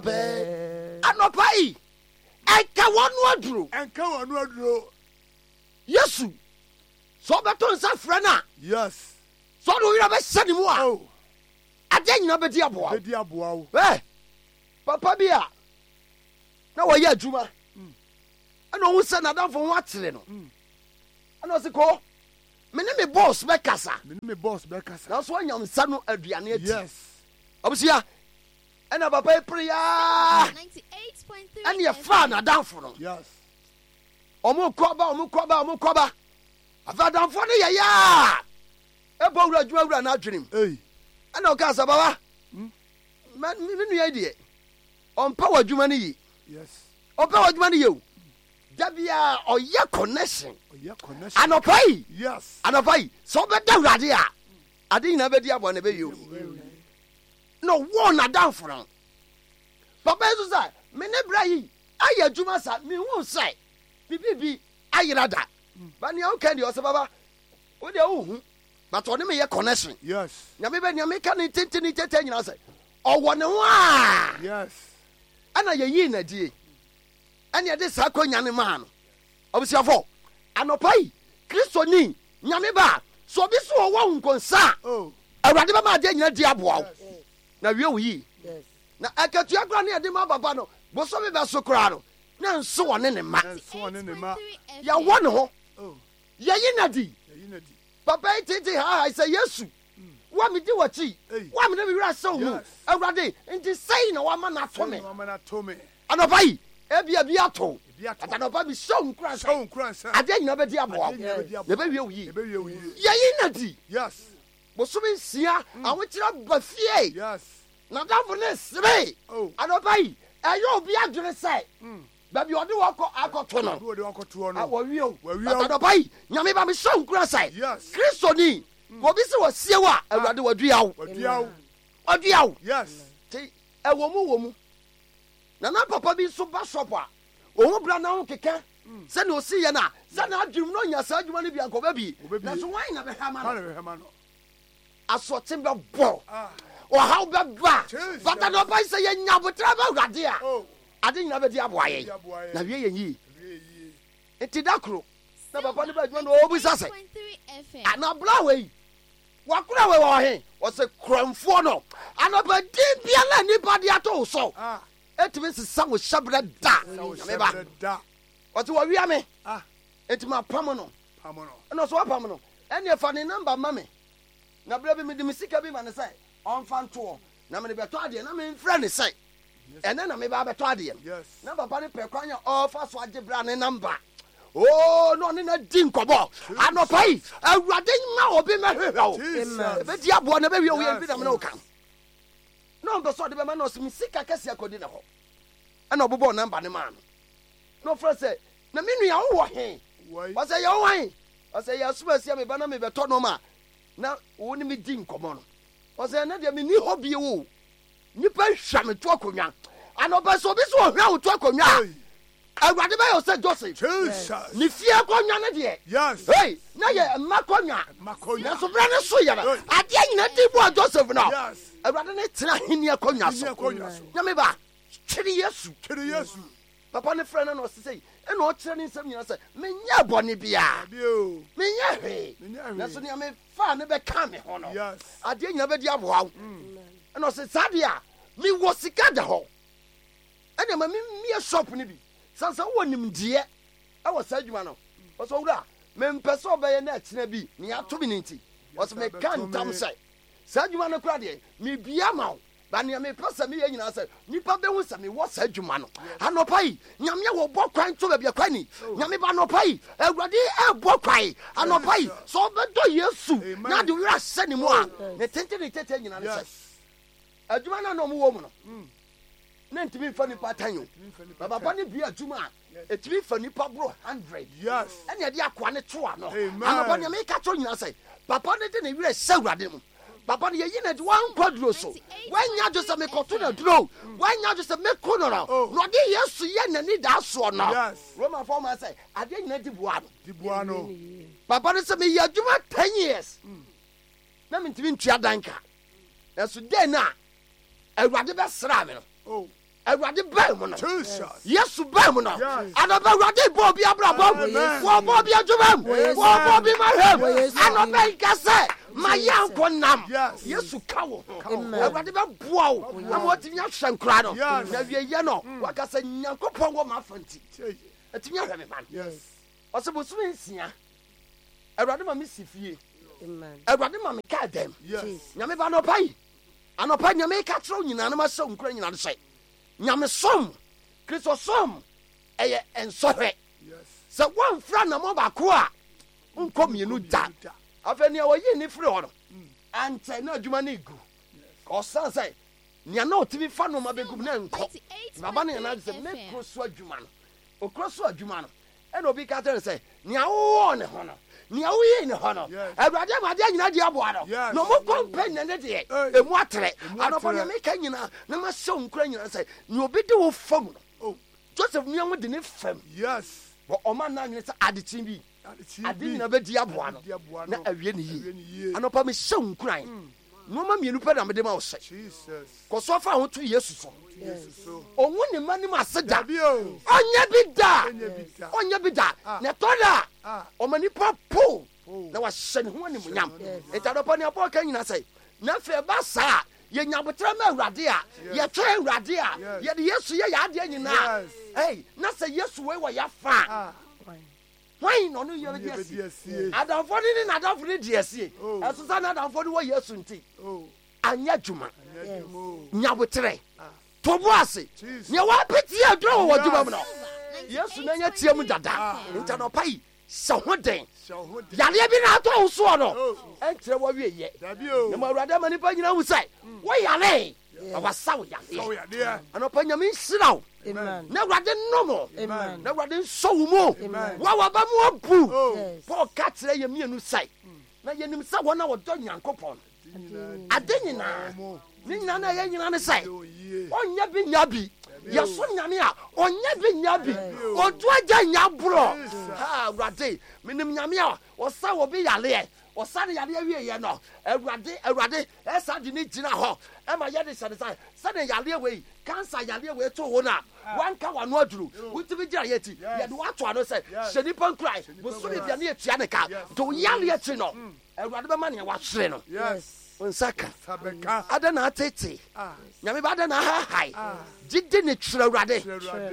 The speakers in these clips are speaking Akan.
bɛ. Anɔpa yi, ɛnka wɔn no aduro. Ɛnka wɔn no aduro. Yesu, sɛ ɔbɛto nsa frɛ no a. Yes. Sɛ ɔde wo werɛ bɛhyɛ ne mu a. Oh. Adeɛ nyinaa bɛdi aboa wo. Bɛdi aboa wo. Ɛ papa bi a na wɔyɛ adwuma ɛna ɔhu sɛ n'adamfo ho akyere no ɛna ɔsi ko me ne me boss bɛkasa. Me ne me boss bɛkasa. Nanso anya nsa no aduane adi. Yes. Abusua ɛna papa yi pere yaa ɛna ɛfaa n'adamfo no. Yes. Ɔmo kɔ ba ɔmo kɔ ba ɔmo kɔ ba afei adamfo no yɛ yaa ɛbɔ wura adwuma wura n'adwenem. Ɛna ɔkaa sɛ baba me nua yi deɛ ɔmpɛ wɔ adwuma no yi. Yes. Ɔmpɛ wɔ adwuma no yɛ o. Da biara ɔyɛ connection. Anɔpa yi. Yes. Anɔpa yi sɛ ɔbɛda awurade a ade nyinaa bɛdi aboa na ɛbɛyɛ o. Na ɔwɔ n'adamfo no. Papa yi nso sɛ me ne bra yi ayɛ adwuma sa mehu sɛ biribi bi ayera da. Ba nea woka deɛ ɔsɛ baba wo deɛ wohu but ɔne me yɛ connection. Yes. Nyame bɛ nea meka ne tenten ne tete nyinaa sɛ ɔwɔ ne ho a. Yes. Ɛna yɛyii n'adie. Ɛne ɛde saa akwanya no maa no. Abusuafo, anɔpa yi, Kristoni, Nyame ba, sɛ obi so ɔwɔ wo nkonsa a, oh. Awurade bɛma adeɛ nyina di aboa wo na wie wo yie. Na akatua koraa ne ɛde ma papa no, bosome bɛso koraa no, na nso ɔne ne mma. Yɛwɔ ne ho. Oh. Yɛyi no adi. Papa yi tete haahae sɛ Yesu, wo a medi w'akyi, wo a mede me werɛ ahyɛ wo mu, Awurade, nti sɛi na woama no ato me. Anɔpa yi, ebia bi ato wo, but anɔpa mehyɛ wo nkuran sɛ adeɛ nyinaa bɛdi aboa wo na ɛbɛwie wo yie. Yɛyi no adi. Bosome 6 ahokyerɛ ba fie, n'adamfo no resere. Oh. Anɔpa yi, ɛyɛ obi adwene sɛ baabi ɔde wɔ kɔ akɔto no, wɔwie o. But anɔpa yi, Nyame ba mehyɛ wo nkuran sɛ Kristoni, obi sɛ wɔsie wo a, Awurade wadua wo. Wadua wo. Nti ɛwɔ mu wɔ mu. Na na papa bi nso ba shop a, ohu bra na ho keka sɛnea osi yɛ no a, sɛ n'adwenem na onya saa adwuma no bi anka ɔbɛbi. Nanso hwan na bɛhwɛ ama no? Asoɔkye bɛbɔ, ɔhaw bɛba. But anɔpa yi sɛ yɛnya aboterɛ ma Awurade a, ade nyinaa bɛdi aboa yɛn na wie yɛn yie. Nti da koro na papa no ba adwuma na ɔrebisa sɛ, ana bra wei wakora wei wɔ he? Ɔsɛ korɔmfoɔ no. Anɔpa din biara nnipa de ato wo so ɛtumi nsesa wo hyɛberɛ da. Nyame ba ɔsɛ wɔwia me nti mapam no. Ɛna ɔsɛ wapam no, ɛneɛ fa ne namba ma me na berɛ bi mede me sika bi ma no sɛ ɔmfa ntoɔ na mede bɛtɔ adeɛ na memfrɛ ne sɛ ɛnɛ na meba abɛtɔ adeɛ no. Na papa no pɛ kwan a ɔfa so agye bra ne namba. Oo, na ɔne no di nkɔmmɔ. Anɔpa yi, Awurade mma obi mmɛhwehwɛ wo. Ɛbɛdi aboa na ɛbɛwie wo yɛ bi na mene wo ka. Na ɔmpɛ sɛ ɔde bɛma na ɔsɛ me sika kɛseɛ akɔdi ne hɔ. Ɛna ɔbobɔɔ namba no maa no. Na ɔfrɛ sɛ, na me nua wowɔ he? Ɔsɛ yɛ wo hwan? Ɔsɛ yɛ asoma asia me ba na mebɛtɔ nɔɔma a na wo ne me di nkɔmmɔ no. Ɔsɛ ɛnɛ deɛ menni hɔ bio o. Nnipa hwa me to akonnwa. Anɔpa sɛ obi sɛ ɔhwa wo to akonnwa a, Awurade bɛyɛ wo sɛ Joseph. Ne fie akonnwa no deɛ, hey, na yɛ mma akonnwa. Nanso berɛ no so yɛ no, adeɛ nyina di boa Joseph no. Awurade ne tena ahenni akonnwa so. Nyame ba, twere Yesu. Papa no frɛ no na ɔse sɛ ɛna ɔkyerɛ ne nsɛm nyina sɛ menyɛ bɔne biara, menyɛ hwee, nanso nea mefaa no bɛka me ho no, adeɛ nyina bɛdi aboa wo. Ɛna ɔse saa deɛ a mewɔ sika da hɔ, ɛna ma memmie shop no bi, sane sɛ wowɔ nimdeɛ ɛwɔ saa adwuma no. Ɔsɛ owura, mempɛ sɛ ɔbɛyɛ na akyina bi nea ato me no nti, ɔsɛ meka ntam sɛ saa adwuma no koraa deɛ mebia ma wo. Ba nea mepɛ sɛ meyɛ nyinaa sɛ nnipa bɛhu sɛ mewɔ saa adwuma no. Anɔpa yi, Nyame a wɔbɔ kwan to baabi a kwan ni. Nyame ba anɔpa yi, Awurade ɛrebɔ kwan. Anɔpa yi, sɛ wobɛdɔ Yesu na ade werɛ ahyɛ ne mu a, ne tenten ne tete nyinaa ne sɛ adwuma no a na wɔwɔ mu no na ntumi mfa nipa tan o. Na papa no bue adwuma a ɛtumi fa nipa boro 100 ɛne ɛde akoa no to ano. Anɔpa nea meka kyerɛ nyinaa sɛ papa no de ne werɛ hyɛ Awurade mu. Papa no yɛyi no adi wankɔ aduro so wanya adwo sɛ mekɔto no aduro wanya adwo sɛ meko no no na ɔde Yesu yɛ n'ani daa soɔ no. Romafoɔ ma sɛ adeɛ nyina di boa no. Papa no sɛ meyɛ adwuma 10 years na mentumi ntua dan ka nanso dɛn no a Awurade bɛsraa me no. Awurade baa mu no, Yesu baa mu no, anɔpa Awurade bɔ obi abrabɔ mu, wɔbɔ obi adwuma mu, wɔbɔ obi mahwɛ mu. Anɔpa yi ka sɛ, ma yɛ ankɔ nam. Yesu ka wo ho. Awurade bɛboa wo ama watumi ahwɛ nkora no. Na wieyɛ no, waka sɛ Nyankopɔn wɔ m'afa nti, atumi ahwɛ me ma no. Ɔsɛ bosome nsia, Awurade ma me si fie. Awurade ma me kaa dɛm. Nyame ba anɔpa yi, Anɔpa nea meka kyerɛ wo nyinaa na mahyɛ wo nkuran nyinaa ne sɛ, nyamesom, Kristosom, ɛyɛ nsɔhwɛ. Sɛ woamfiri anammɔn baako a, wonkɔ mmienu da. Afei nea wɔyii ne firi hɔ no, ankyɛ na adwuma no regu. Ɔsan sɛ nea na ɔtumi fa nneɛma bɛgu mu na ɛnkɔ. Baba no yɛ n'adwene sɛ mɛkuro so adwuma no. Okuro so adwuma no, Ɛna obi ka kyerɛ no sɛ, Nea wowɔɔ ne ho no, nea woyii ne hɔ no, Awurade ama adeɛ nyinaa di aboa no, na ɔmo kɔ mpɛ nnɛ ne deɛ, emu atrɛ. Anɔpa nea meka nyinaa, na mahyɛ wo nkuran nyinaa sɛ, nea obi de wo fam no, oh. Joseph nua ho de ne fam. Wɔ ɔma nna nwene sɛ adekyee bi, ade nyinaa bɛdi aboa no, na awie ne yie. Anɔpa mehyɛ wo nkuran. Mm. Nneɛma mmienu pɛ na mede ma wo sɛ, kɔ so fa ho to Yesu so. Ɔnwu ne mma nim ase da. Ɔnyɛ bi da. Ɔnyɛ bi da. Ah. Na ɛtɔ da a, ah. ɔma nipa po na wahyɛ ne ho animuonyam. Nti adɔpɔ nea Paul ka nyina sɛ, na afei ɛba saa a, yɛnya aboterɛ ma Awurade a, yɛtwɛn Awurade a, yɛde Yesu yɛ yɛn adeɛ nyinaa. Ei, na sɛ Yesu wei wɔ yɛafa a, ah. Hwan na ɔne yɛ bɛdi asie? Adamfo no ne n'adamfo no di asie. Oh. Ɛso sɛ n'adamfo no wɔ Yesu nti, oh. anyɛ adwuma. Nya aboterɛ. Ah. To bo ase. Nea wapete aduro wɔ w'adwuma mu no, Yesu na anya tia mu dada. Ah. Nti anɔpa yi, hyɛ ho den. Yareɛ bi na atɔ wo soɔ no, oh. ɛnkyerɛ w'awieyɛ. Na ma Awurade ama nnipa nyina hu sɛ, mm. woyaree. Na wasa wo yadeɛ. Anɔpa Nyame nhyira wo. Na Awurade nnom wo. Na Awurade nsɔ wo mu. Wo a waba mu abu. Oh. Paul ka kyerɛ yɛ mmienu sɛ, na yɛnim sɛ wɔn a wɔdɔ Nyankopɔn ade nyinaa ne nyinaa na ɛyɛ nyinaa ne sɛ ɔnyɛ bi nya bi yɛsom Nyame a ɔnyɛ bi nya bi ɔdu agya nya borɔ. Awurade menim Nyame a ɔsa wɔ bi yareɛ ɔsa ne yareɛ wieɛ no Awurade Awurade Ɛsa de no gyina hɔ ma yɛde hyɛ ne nsa sɛdeɛ yareɛ wei, cancer yareɛ wei too wo no a, wanka w'ano aduru, wotumi gyina yɛ ti, yɛde wo ato ano sɛ hyɛ nipa nkuran, bosome bia ne yɛtua ne ka, nti wo yareɛ akyi no, Awurade bɛma nea wahyere no wo nsa ka. Adɛn na atete? Nyame ba adɛn na ahahae? Gyidi ne kyerɛ Awurade.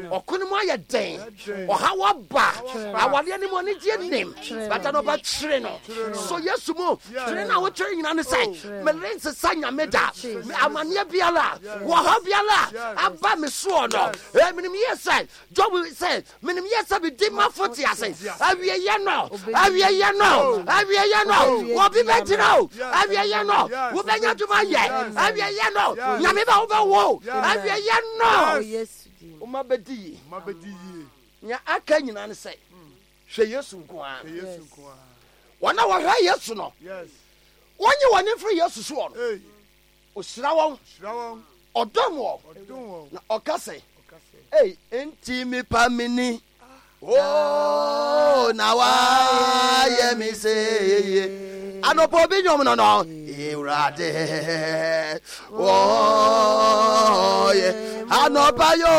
Ɔko no mu ayɛ den. Ɔhaw aba. Awareɛ no mu anigyeɛ nim. But anɔpa kyere no. So Yesu mu. Kyere no a wokyere nyina ne sɛ merensesa Nyame da. Amanneɛ biara, wɔhaw biara aba me soɔ no. Eh, menim yie sɛ Job sɛ Menim yie sɛ medi m'afo te ase. Awieeɛ no, awieeɛ no, awieeɛ no, obi bɛgyina o. Awieeɛ no, wobɛnya adwuma yɛ. Awieeɛ no, Nyame ba wobɛwo. Awieeɛ no, woma bɛdi yie. Nea aka nyinaa ne sɛ, hwɛ Yesu nko ara. Wɔn a wɔhwɛ Yesu no, wɔnyi wɔn ani mfiri Yesu soɔ no. Ɔhyira wɔn, ɔdom wɔn, na ɔka sɛ, Ei, enti mepa me ni, o na wayɛ me seye. Anɔpa obi nnwom no no, Ewurade, wɔyɛ anɔpa yo.